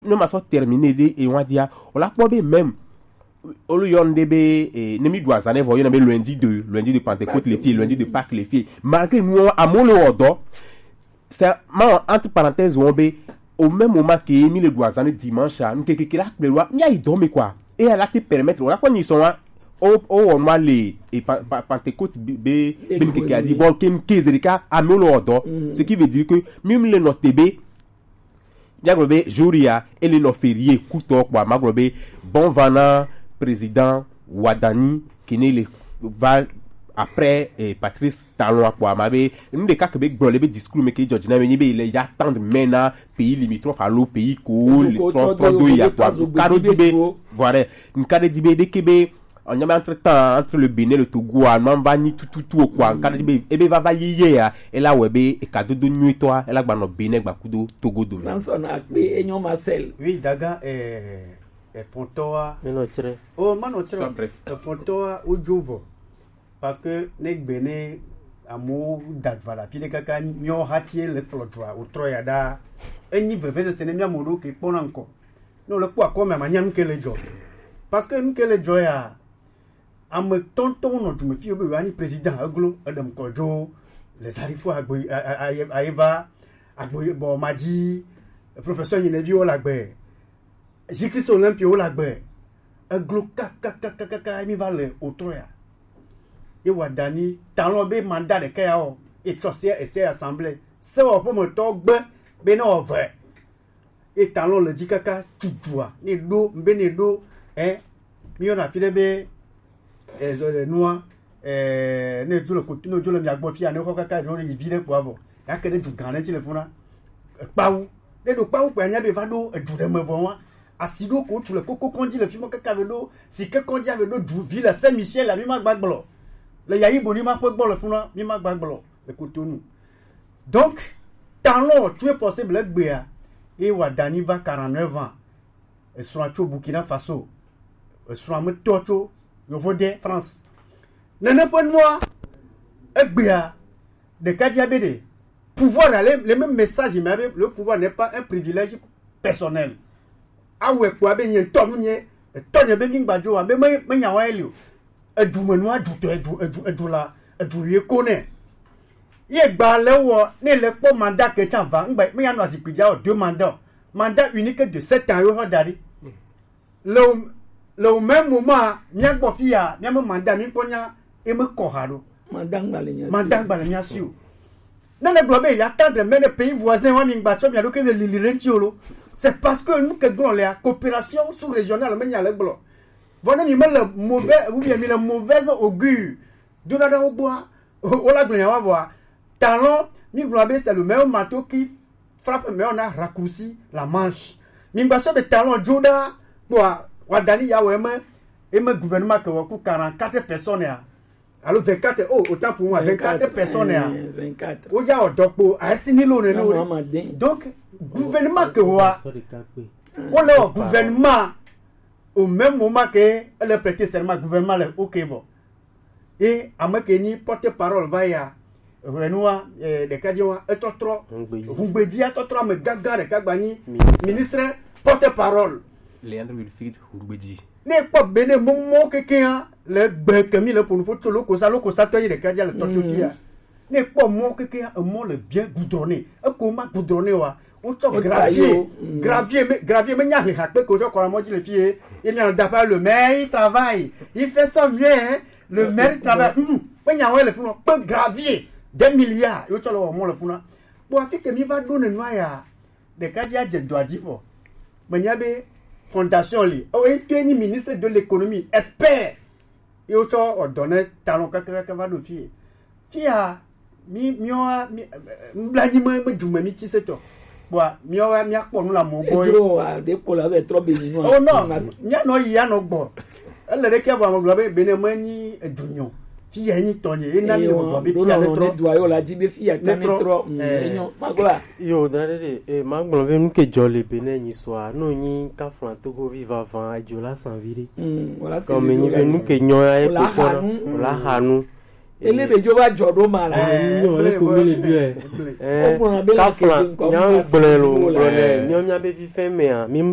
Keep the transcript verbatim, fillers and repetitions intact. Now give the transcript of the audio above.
ne ma sɔ terminer ɖe e wan dia, o la kpɔ be même, o le yɔn ɖe be, eh, ne mi ɖu azan ɖe vɔ, yɔn be lundi de, lundi de Pentecôte le fie, lundi de Pâques le fie. Malgré nous, amewo le wɔ dɔ. C'est, ma, entre parenthèses, on be, au même moment que mi le ɖu azan ɖe dimanche, a, nu kekeke la kpe wa, mi ayi dɔ me quoi. Et elle a te permettre, o la kpɔ ni sɔn wa, o, o wɔ nua le, e pa, pa, Pentecôte be, be, be nu keke a di, bon, ke, ke zerika, amewo le wɔ dɔ. Ce qui veut dire que, mi, mi le nɔ te be, Míagblɔ be jour ya, ele nɔ férié kutɔ kpɔa, magblɔ be bon vent na président Wadani, kene le va après, eh, Patrice Talon kpɔa, ma be nu ɖeka ke be gblɔ le be discours me ke dzɔ dzi na me nyi be le ya tendre main na pays limitrophe alo pays ko le trɔ trɔ do ya kpɔa, ka ɖo di be, voilà, nka ɖe di be ɖeke be Ɔnyama entre temps entre le Bénin le Togo a, nua va nyi tututu o kpɔa, nka ɖe be ebe vava yeye ya, ela wɛ be eka dodo nyuitɔa, ela gba nɔ Bénin gba kudo Togo dome. Samson Akpe enyo Marcel. Oui, daga, eh, efɔntɔa. Mi nɔ tsrɛ. Oh, ma nɔ tsrɛ. Sois bref. Efɔntɔa, wodzo vɔ. Parce que ne gbe ne amewo da va la fi ɖe kaka miɔ hatie le kplɔ dua, wotrɔ ya ɖa. Enyi veve sese ne mia mo ɖo ke kpɔna ŋkɔ. Ne wòle kpɔ akɔmea, manya nu ke le dzɔ. Parce que nu ke le dzɔ ya, ame tɔntɔn nɔ dume fi be yewoanyi président eglo, eɖe ŋkɔ dzo, les Arifo agbe, a, a, a, ayeva, agbe bɔ ma dzi, professeur Nyineviwo le agbe, Jésus Christ Olympio wo le agbe, eglo kakakakaka mi va le otrɔ ya. Ye wa dani talon be mandat ɖeka ya o, etsɔ se, ese assemblée, sewɔƒemetɔ gbe be ne wɔ ve. Ye talon le dzi kaka tutua, ne ɖo, be ne ɖo, eh, mi yɔna fi ɖe be, eh, zɔ le nua, eh, ne dzo le koto, ne dzo le mia gbɔ fia, ne xɔ kaka ɖo yi vi ɖe kpɔ avɔ. Ya ke ɖe du gã ɖe tsi le funa. Kpawu. Ne ɖo kpawu kpɛ anya be va ɖo edu ɖe me vɔ wa. Asi ɖo ko tu le koko kɔndzi le fi mɔ kaka be ɖo, si ke kɔndzi ave ɖo du vi le Saint Michel la mi ma gba gblɔ. Le yayi bo ni ma ƒe gbɔ le funa, mi ma gba gblɔ le Cotonou. Donc, talon tu est possible egbea, ye wa dani va quarante-neuf ans. Esrɔ̃a tso Burkina Faso. Esrɔ̃a me tɔ tso Yovo de France. Nene ƒe nua, egbea, ɖeka dzi abe ɖe, pouvoir la, le, le même message, mais abe, le pouvoir n'est pas un privilège personnel. Awɛ kpɔ abe nye ŋutɔ nu nye, etɔ nye be mi gba dzo, abe me, me nya wa eli o. Edu me nua, edu tɔ, edu, edu, edu la, edu ye ko nɛ. Ye gba le wɔ, ne le kpɔ mandat ke tsa va, ŋgba, me ya nɔ azikpui dzi o, deux mandats. Mandat unique de sept ans, yo hɔ da ɖi. Le, le au même moment, mía gbɔ fi ya, mía me mandat, mi kpɔ nya, e me kɔ ha ɖo. Mandat ŋgba le mía si. Mandat ŋgba le mía si o. Ne le gblɔ be ya tendre main ne pays voisin wa mi ŋgba tsɔ mia ɖo ke le lili ɖe ŋuti o lo. C'est parce que nu ke gblɔ lea, coopération sous-régionale me nya le gblɔ. Vɔ ne mi me le mauvais, ou bien mi le mauvaise augure. Dona ɖe wo gbɔa, wo la gblɔ nya wa vɔa. Talon, mi gblɔ be c'est le meilleur marteau qui frappe, mais on a raccourci la manche. Mi gba sɔ be talon dzo ɖa, kpɔa, wa dani ya wɔ eme, eme gouvernement ke wɔ ku quarante-quatre personnes ya. Alo vingt-quatre, oh, autant pour moi, vingt-quatre personnes ya. Vingt-quatre. Wo ya wɔ dɔ kpo, a si ni lo ne no. Donc, gouvernement ke wɔ, wo le wɔ gouvernement, au même moment que le prêter serment, gouvernement le, ok, bon. Ye ame ke nyi porte-parole va ya, hwenua, eh, ɖeka dzi wa, etɔtrɔ, Hungbeji. Hungbeji ya tɔtrɔ ame gãgã ɖeka gba nyi ministre porte-parole. Leandre Wilfried Hungbeji. Ne kpɔ Benin mɔmɔ kekea, le gbe kemi le ƒonu ƒo tso lokosa, lokosa tɔ yi ɖeka dzi le tɔtɔ dzi ya. Ne kpɔ mɔ kekea, emɔ le bien goudronné. Eko ma goudronné wa, Wotsɔ gravier, gravier me, gravier me nya heha kpe ko tsɔ kɔ la mɔ dzi le fie. Ye mia da pa le maire il travaille, il fait ça bien, hein. Le maire il travaille. Hmm. Pe nya wɔ le funu pe gravier, des milliards. Yo tsɔ le wɔ mɔ le funu. Bon, afi ke mi va ɖo ne nua ya, ɖeka dzi adze dɔ adzi vɔ. Me nya be fondation li. Oh, et puis ni ministre de l'économie, expert. Ye wotsɔ wɔ dɔ ne talon kakaka va ɖo fie. Fia, mi, miwa, mi, nublanyi me, me dume mi tsi se tɔ. Kpɔa, miwa, miakpɔ nu le amewo gbɔ ye. Edro wa, ɖe kpɔ la, be trɔ be mi nua. Oh non, mianɔ yi, anɔ gbɔ. Ele ɖe ke vɔ ame gblɔ be, be ne me nyi edunyo. Fia nyi tɔnye, ye na mi le gbɔ be fia ne trɔ. Ne dua yo la dzi be fia tsa ne trɔ. Mm, eh. Enyo, magblɔ. Yo, da ɖe ɖe, eh, magblɔ be nu ke dzɔ le be ne nyi sɔa, no nyi kaflan Togovi vava, edzo la sanvi ɖe. Mm, wala sanvi ɖe. Kɔmi nyi be nu ke nyɔ ya ye kpɔkpɔ na, wala hanu. Ele be dzo va dzɔ ɖo ma la. Eh, nyɔ, ele ko mele bi, eh. Eh, kafla, nya gblẽ lo, gblɔ nɛ. Nyɔ nya be fifɛ mea, mi mu